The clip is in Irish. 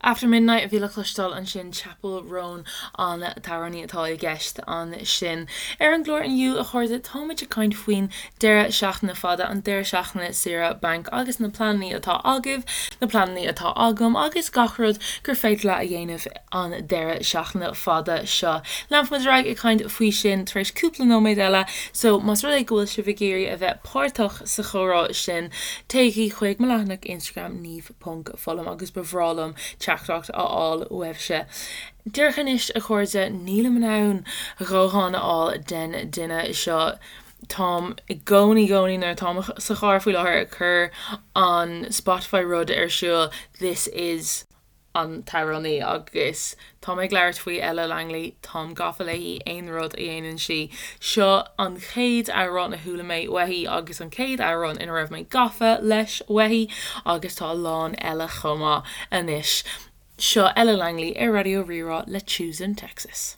After Midnight a bhí le cloisteáil ansin, Chappell Roan an t-amhránaí atá i gceist ansin. Ar an gclár inniu, a chairde, táimid ag caint faoin deireadh seachtaine fada, an deireadh seachtaine saoire bainc agus na pleananna atá agaibh, na pleananna atá agam agus gach rud gur féidir leat a dhéanamh an deireadh seachtaine fada seo. Leanfaimid ar aghaidh ag caint faoi sin tar éis cúpla nóiméad eile, so más rud é go bhfuil sibh ag iarraidh a bheith páirteach sa chomhrá sin, téigí chuig mo leathanach Instagram, Niamh. ponc Fullam agus ba bhreá liom teachtaireacht a fháil uaibhse. Díreach anois, a chairde, nílim in ann a dhóthain a fháil den duine seo. Táim i gcónaí, gcónaí nuair atáim sa charr faoi láthair ag cur an Spotify rud ar siúl, this is an t-amhránaí agus Tá mé ag labhairt faoi Ella Langley, táim gafa léi, aon rud a dhéanann sí. Seo an chéad amhrán a chuala mé uaithi agus an chéad amhrán ina raibh mé gafa leis uaithi agus tá a lán eile chomh maith anois. Seo Ella Langley ar Raidió Rí-Rá le Tuesday in Texas.